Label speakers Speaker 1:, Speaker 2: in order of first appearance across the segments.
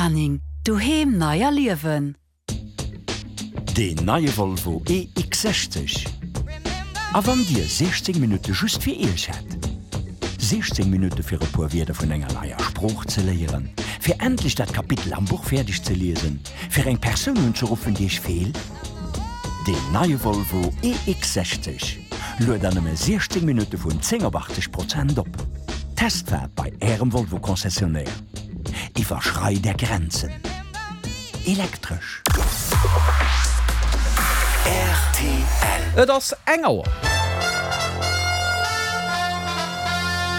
Speaker 1: Anning, Doheem nei erliewen.
Speaker 2: Deen neie Volvo EX60. A wann Dir 16 Minutte just fir Iech hätt? 16 Minutte fir e puer Wierder vun enger neier Sprooch ze léieren, fir endlech dat Kapitel am Buch fäerdeg ze liesen, fir eng Persoun unzeruffen, déi Iech feelt? Deen neie Volvo EX60 luet an nëmme 16 Minutte vun 10 op 80 Prozent op. Testfaart bei Ärem Volvo-Concessionnaire. Iwwerschrei der Grenzen. Elektresch.
Speaker 3: Rtl. Et ass eng Auer.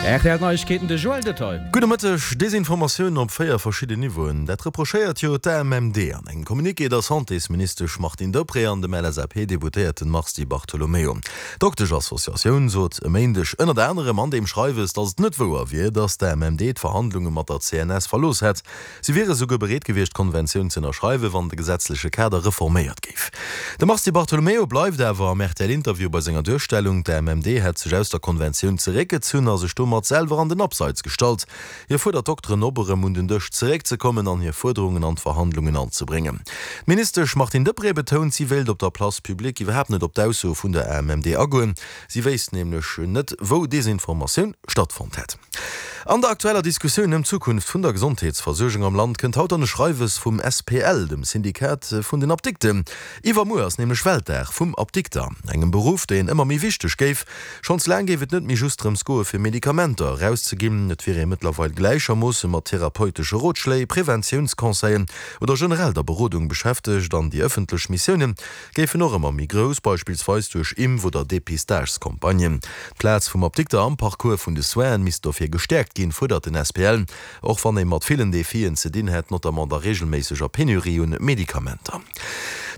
Speaker 3: Rtl Neiegkeeten, de Joël Detail.
Speaker 4: Gudde Mëtteg. Desinformatioun op 4 verschidden Niveauen, dat reprochéiert jo d'AMMD an engem Communiqué der Santésministesch Martine Deprez an dem LSAP-Deputéierten Mars Di Bartolomeo. D'Dokteschassociatioun sot e Méindeg ënnert anerem an deem Schreiwes, datt et net wouer wier, datt d'AMMD d'Verhandlunge mat der CNS verlooss hätt. Si wiere souguer bereet gewiescht, d'Konventioun ze ënnerschreiwen, wann de gesetzleche Kader reforméiert géif. De Mars Di Bartolomeo bleift awer am RTL-Interview bei senger Duerstellung, d'AMMD hätt sech aus der Konventioun zeréckgezunn a sech domat selwer an den Abseits gestallt. Hie fuerdert d'Dokteren op, erëm un den Dësch zeréckzekommen an hir Fuerderungen an d'Verhandlungen anzebréngen. D'Ministesch Martine Deprez betount, si wéilt op der Place publique iwwerhaapt net op d'Aussoe vun der AMMD agoen. Si wéisst nämlech net, wou Desinformatioun stattfonnt hätt. An der aktueller Diskussioun ëm d'Zukunft vun der Gesondheetsversuergung am Land kënnt haut dann e Schreiwes vum SPL, dem Syndikat vun den Apdikten. Iwwermuer ass nämlech Weltdag vum Apdikter, engem Beruff, deen ëmmer méi wichteg géif. Schonns laang géif et net méi just drëms goe fir Medikamenter erauszeginn, et wier ee mëttlerweil gläichermoosse mat therapeutesche Rotschléi, Preventiounsconseillen oder generell der Berodung beschäftegt an déi ëffentlech Missioune géifen och ëmmer méi grouss, beispillsweis duerch Impf oder Depistagescampagnen. D'Plaz vum Apdikter am Parcours vun de Soinen misst dofir gestäerkt ginn, fuerdert den SPL. Och wann ee mat villen Defien ze dinn hätt, notamment der reegelméisseger Penurie un Medikamenter.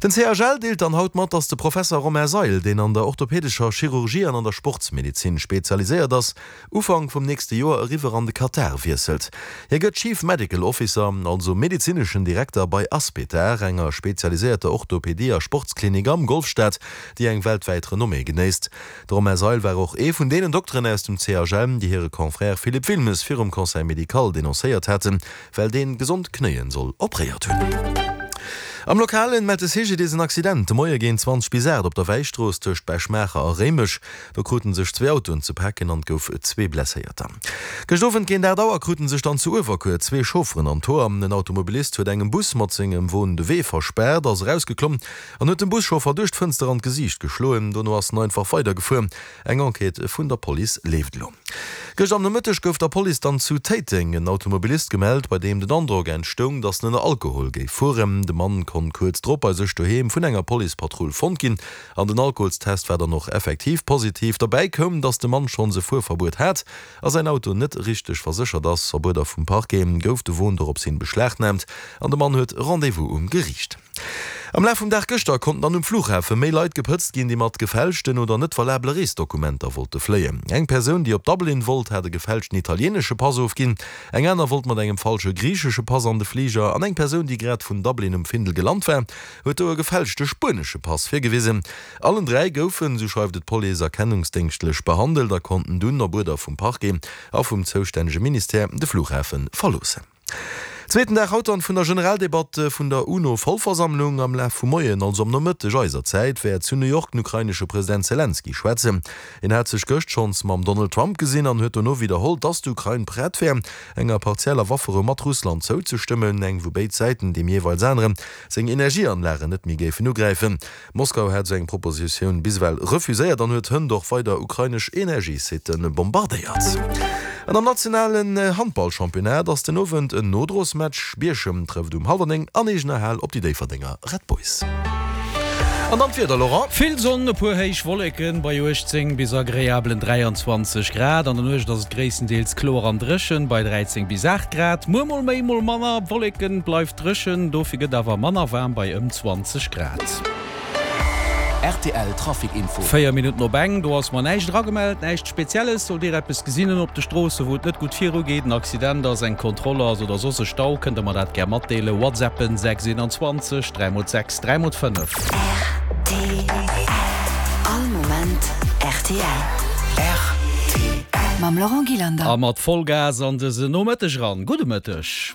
Speaker 4: Den CHL deelt dann haut mat, datt de Professer Romain Seil, deen an der orthopädescher Chirurgie an an der Sportsmedezin spezialiséiert ass, Ufank vum nächste Joer eriwwer an de Katar wiesselt. Hie gëtt Chief Medical Officer, also medezineschen Direkter bei Aspetar, enger spezialiséierter Orthopedie a Sportsklinik am Golfstaat, déi eng weltwäit Renommée genéisst. De Romain Seil war och ee vun deenen Dokteren aus dem CHL, déi hire Confrère Philippe Wilmes virum Conseil médical denoncéiert haten, well deen gesond Knéien soll opréiert hunn. Am Lokalen mellt de CGDIS en Accident de Moie géint 20 bis 8 op der Wäistrooss tëscht Bech-Maacher a Réimech. Do kruten sech zwee Autoen ze paken an et gouf zwee Blesséierter. Gëscht Owend géint 8 Auer kruten sech dann zu Uewerkuer zwee Chaufferen an d'Hoer. En Automobilist huet engem Bus mat sengem Won de Wee verspaart, ass erausgeklomm An huet dem Buschauffer duerch d'Fënster an d'Gesiicht geschloen. Dono ass en einfach weidergefuer. Eng Enquête vun der Police leeft elo. Gëscht am Nomëtteg gouf der Police dann zu Téiteng en Automobilist gemellt, bei deem den Androck entstoung, datt en ënner Alkohol géif fueren. De Mann konnt kuerz drop bei sech doheem vun enger Policepatrull fonnt ginn an den Alkoholstest war dann och effektiv positiv. Derbäi koum, datt de Mann schonns e Fuerverbuet hat a säin Auto net richteg verséchert ass. Op Uerder vum Parquet gouf de Won dorops hin beschlagnaamt an de Mann huet Rendez-vous um Geriicht. Am Laf vum Dag gëschter konnten dann um Flughafe méi Leit gepëtzt ginn, déi mat gefälschten oder net valabele Reesdokumenter wollte fléien. Eng Persoun, déi op Dublin wollt, hat e gefälschten italieenesche Pass ofginn, eng aner wollt mat engem falsche griichesche Pass an de Fliger an eng Persoun, déi grad vun Dublin um Findel gelant war, huet do e gefälschte spuenesche Pass virgewisen. Allen 3 goufen, sou schreift et d'Police, erkennungsdéngschtlech behandelt a konnten dunn op Uerder vum Parquet a vum zoustännege Ministère de Flughafe verloossen. Zweeten Dag haut dann vun der Generaldebatt vun der UNO-Vollversammlung. Am Laf vum Moien, also am Nomëtteg eiser Zäit, wäert zu New York den ukrainesche President Selenskyj schwätzen. Hien hat sech gëscht schonns mam Donald Trump gesinn an huet dono widderholl, datt d'Ukrain prett wär, enger partieller Wafferou mat Russland zouzestëmmen, eng wou béid Säiten deem jeeweils anere seng Energieanlagen net méi géifen ugräifen. Moskau hat esou eng Propositioun bis ewell refuséiert an huet hënt och weider ukrainesch Energiesitte bombardéiert. An am nationalen Handballchampionnat ass den Owend en Nodrosmatch. Bierchem trëfft um hallwer 9 an eegener Hal op déi Déifferdenger Red Boys. An dann d'Wieder, Laurent.
Speaker 3: Vill Sonn, e puer héich Wolleken bei 18 bis agreablen 23 Grad. An der Nuecht ass et gréisstendeels kloer an dréchen bei 13 bis 8 Grad. Muer mol méi, mol manner Wolleken, bleift dréchen, dofir gëtt awer manner waarm bei ëm 20 Grad.
Speaker 2: Rtl Trafic Info.
Speaker 3: 4 Minutten op eng, do ass mer näischt eragemellt, näischt Spezielles. Sollt Dir eppes gesinn hunn op de Stroosse wou et net gutt viru geet, en Accident ass, eng Kontroll ass oder soss e Stau, kënnt Der mer dat gär matdeelen. Whatsappen 6 21 3 mol 6 3 mol 5.
Speaker 1: Rtl. All Moment rtl.
Speaker 2: Rtl.
Speaker 1: Mam Laurent Gillander.
Speaker 3: A mat Vollgas an dësen Nomëtteg eran. Gudde Mëtteg.